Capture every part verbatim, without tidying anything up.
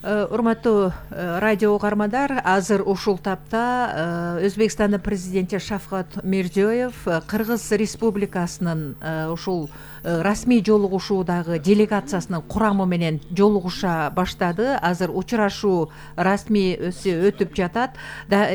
Урматтуу радио угармандар, азыр ушул тапта Өзбекстандын президенти Шавкат Мирзиёев Кыргыз Республикасынын ушул расмий жолугушуудагы делегациясынын курамы менен жолугуша баштады. Азыр учурашуу расмий өтүп жатат.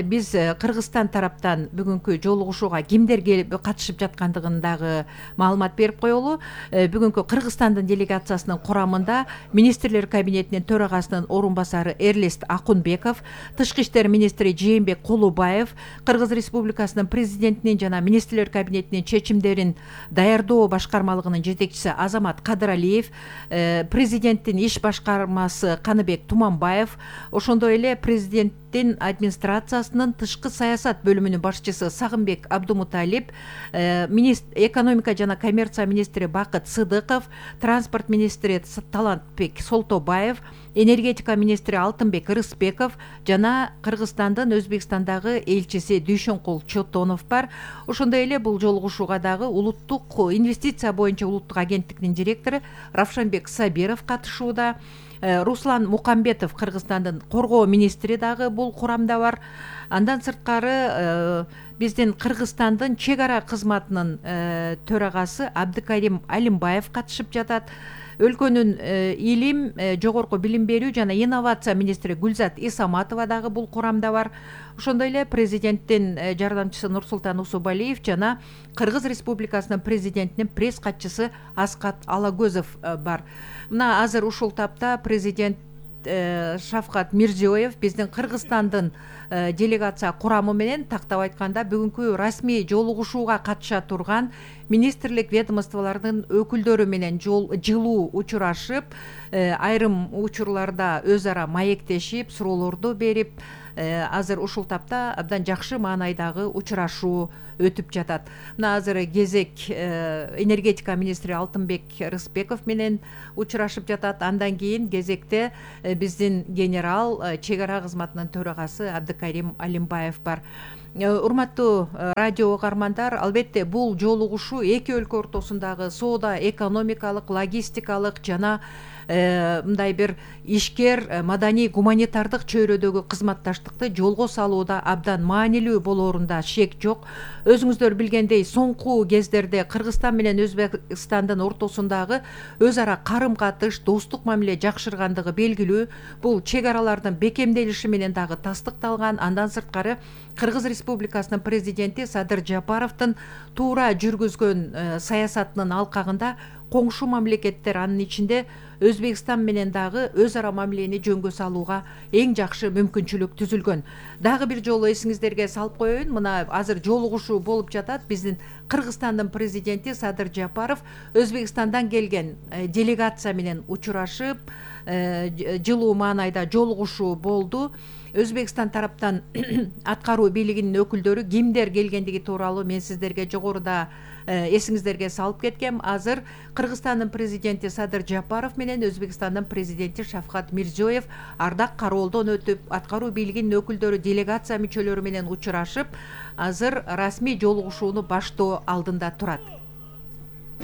Биз Кыргызстан тараптан бүгүнкү жолугушууга кимдер келип катышып жаткандыгын дагы маалымат берип коелу. Бүгүнкү Кыргызстандын делегациясынын курамында министрлер кабинетинин төрагасынын орун басары Эрлест Акунбеков, тышкы иштер министри Жээнбек Кулубаев, Кыргыз Республикасынын президентинин жана министрлер кабинетинин чечимдерин даярдоо башкармалыгынын жетекчиси Азамат Кадыралиев, президенттин иш башкармасы Каныбек Туманбаев, ошондой эле президенттин администрациясынын тышкы саясат бөлүмүнүн башчысы Сагынбек Абдумуталип, экономика жана коммерция министри Бакыт Сыдыков, транспорт министри Талантбек Солтобаев, энергетика министри Алтынбек Рыспеков жана Кыргызстандын Өзбекстандагы элчиси Дүйшөнкул Чотонов бар. Ошондой эле бул жолугушууга дагы улуттук инвестиция боюнча улуттук агенттиктин директору Равшанбек Сабиров катышууда. Руслан Мукамбетов, Кыргызстандын коргоо министри дагы бул курамда бар. Андан сырткары биздин Кыргызстандын чек ара кызматынын төрагасы Абдыкарим Алимбаев катышып жатат. Өлкөнүн илим, жогорку билим берүү жана инновация министри Гүлзат Исаматова дагы бул курамда бар. Ошондой эле президенттин жардамчысы Нурсултан Усубалиев жана Кыргыз Республикасынын президентинин пресс катчысы Аскат Алагөзов бар. Мына азыр ушул тапта президент Шавкат Мирзиёев биздин Кыргызстандын делегация курамы менен тактап айтканда бүгүнкү расмий жолугушууга катыша турган министрлик ведомстволордун өкүлдөрү менен жылуу учурашып, айрым учурларда өз ара маектешип, суроолорду берип, азыр ушул тапта абдан жакшы маанайдагы учурашуу өтүп жатат. Мына азыр кезек энергетика министри Алтынбек Рыспеков менен учурашып жатат. Андан кийин кезекте биздин генерал чек ара кызматынын төрагасы Абдыкарим Алимбаев бар. Урматтуу радио угармандар, албетте бул жолугушуу эки өлкө ортосундагы соода, экономикалык, логистикалык жана мындай бир ишкер, маданий, гуманитардык чөйрөдөгү кызматташтыкты жолго салууда абдан маанилүү болоорунда шек жок. Өзүңүздөр билгендей, соңку кездерде Кыргызстан менен Өзбекстандын ортосундагы өз ара карым-катыш, достук мамиле жакшыргандыгы белгилүү. Бул чек аралардын бекемделиши менен дагы тастыкталган. Андан сырткары Кыргыз Республикасынын президенти Садыр Жапаровдун туура жүргүзгөн саясатынын алкагында коңшу мамлекеттер, анын ичинде Өзбекстан менен дагы өз ара мамилени жөнгө салууга эң жакшы мүмкүнчүлүк түзүлгөн. Дагы бир жолу эсиңиздерге салып коеюн, мына азыр жолугушуу болуп жатат. Биздин Кыргызстандын президенти Садыр Жапаров Өзбекстандан келген делегация менен учурашып, жылуу маанайда жолугушуу болду. Өзбекстан тараптан аткаруу бийлигинин өкүлдөрү кимдер келгендиги тууралуу мен сиздерге жогоруда эсиңиздерге салып кеткем. Азыр Кыргызстандын президенти Садыр Жапаров менен Өзбекстандын президенти Шавкат Мирзиёев ардак кароолдон өтүп, аткаруу бийлигинин өкүлдөрү делегация мүчөлөрү менен учурашып, азыр расмий жолугушууну баштоо алдында турат.